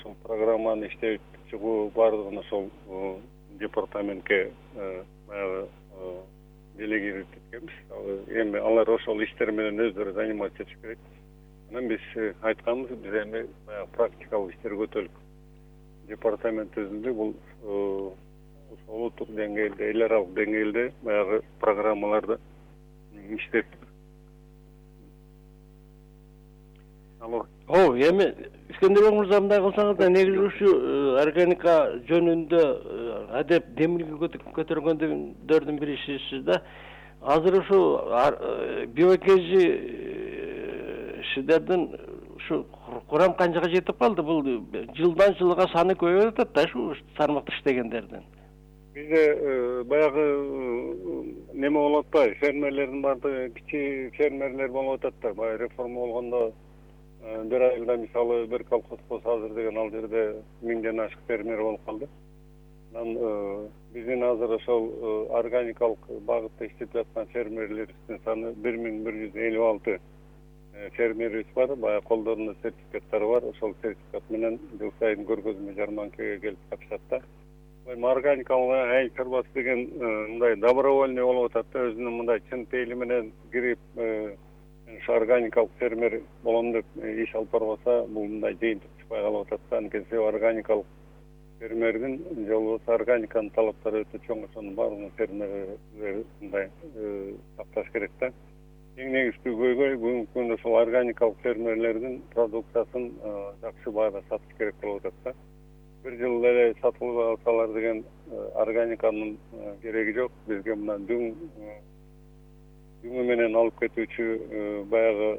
ушул программаны иштеп чыгуу баардыгын ошол департаментке баягы делегировать эткенбиз. Эми алар ошол иштер менен өздөрү заниматься этиш керек. Анан биз айтканбыз, биз эми баягы практикалык иштерге өтөлүк. Департамент өзүндө бул улуттук деңгээлде, эл аралык деңгээлде баягы программаларды иштеп. Эми Искендербек мырза мындай кылсаңыз да, негизи ушу органика жөнүндө адеп демилге көтөргөндөрдүн бирисисиз да. Азыр ушу биокези сиздердин ушу курам канчага жетип калды? Бул жылдан жылга саны көбөйүп атат да ушу тармакта иштегендердин. Бизде баягы неме болуп атпайбы? Фермерлердин баардыгы кичи фермерлер болуп атат да. Баягы реформа болгондо бир айылда мисалы бир колхоз болсо азыр деген ал жерде 1000ден ашык фермер болуп калды. Анан биздин азыр ошол органикалык багытта иштеп жаткан фермерлерибиздин саны 1156 фермерибиз бар. Баягы колдорунда сертификаттары бар. Ошол сертификат менен жыл сайын көргөзмө жарманкага келип катышат да. Органикалык айыл чарбасы деген мындай добровольный болуп атат да, өзүнүн мындай чын пейили менен кирип ушу органикалык фермер болом деп иш алып барбаса, бул мындай жыйынтык чыкпай калып атат да. Анткени органикалык фермердин же болбосо органиканын талаптары өтө чоң, ошонун баардыгын фермерлер мындай сакташ керек да. Эң негизги көйгөй бүгүнкү күндө ошол органикалык фермерлердин продукциясын жакшы баада сатыш керек болуп атат да. Бир жыл эле сатылып алсалар деген органиканын кереги жок. Бизге мына дүңү менен алып кетүүчү баягы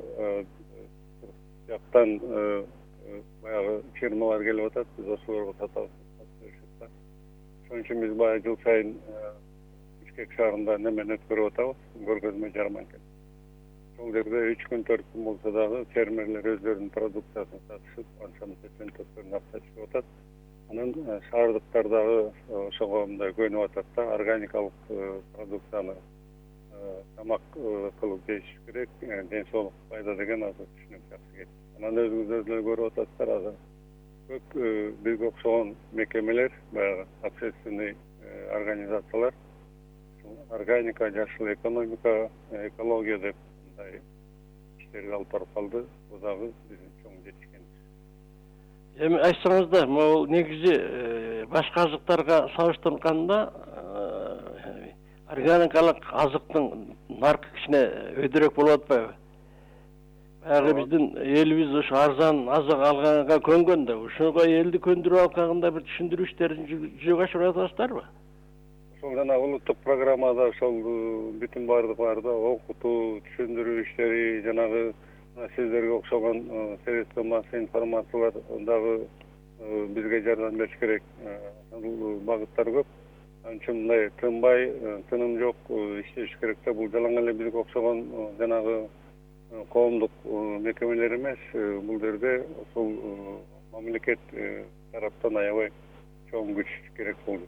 жактан баягы фирмалар келип атат. Биз ошолорго сатабыз. Ошон үчүн биз баягы жыл сайын Бишкек шаарында немени өткөрүп атабыз, көргөзмө жарманка. Ошол жерде 3 күн 4 күн болсо дагы фермерлер өздөрүнүн продукциясын сатышып, анча-мынча чөнтөктөрүн акча чыгып атат. Анан шаардыктар дагы ошого мындай көнүп атат да, органикалык продукцияны тамак кылып жеш керек, ден соолук пайда деген азыр түшүнүк жакшы келет. Анан өзүңүздөр деле көрүп атасыздар, азыр көп бизге окшогон мекемелер, баягы общественный организациялар органика, жашыл экономика, экология деп мындай иштерди алып барып калды. Бул дагы биздин чоң жетишкенибиз. Эми айтсаңыз да, могул негизи башка азыктарга салыштырганда органикалык азыктын наркы кичине өйдөрөөк болуп атпайбы? Баягы биздин элибиз ушу арзан азык алганга көнгөн да, ушуга элди көндүрүп алганда бир түшүндүрүү иштерин жүзөгө ашырып атасыздарбы? Ошол жана улуттук программада ошол бүтүн баардыкларда окутуу, түшүндүрүү иштери, жанагы сиздерге окшогон средства массовой информациялар дагы бизге жардам бериш керек. Бул багыттар көп. Анын үчүн мындай тынбай, тыным жок иштеш керек да. Бул жалаң эле бизге окшогон жанагы коомдук мекемелер эмес, бул жерде ошол мамлекет тараптан аябай чоң күч керек болду.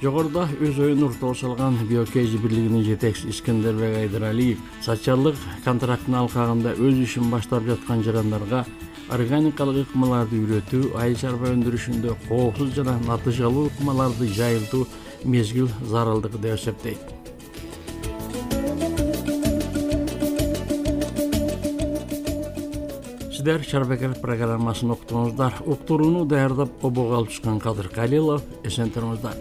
Жогоруда өз оюн ортого салган биокези бирлигинин жетекчиси Искендербек Айдаралиев социалдык контрактын алкагында өз ишин баштап жаткан жарандарга органикалык ыкмаларды үйрөтүү, айыл чарба өндүрүшүндө коопсуз жана натыйжалуу ыкмаларды жайылтуу мезгил зарылдыгы деп эсептейт. Сиздер Шарбекер программасын уктуңуздар. Уктурууну даярдап обого алып чыккан Кадыр Калилов. Эсен туруңуздар.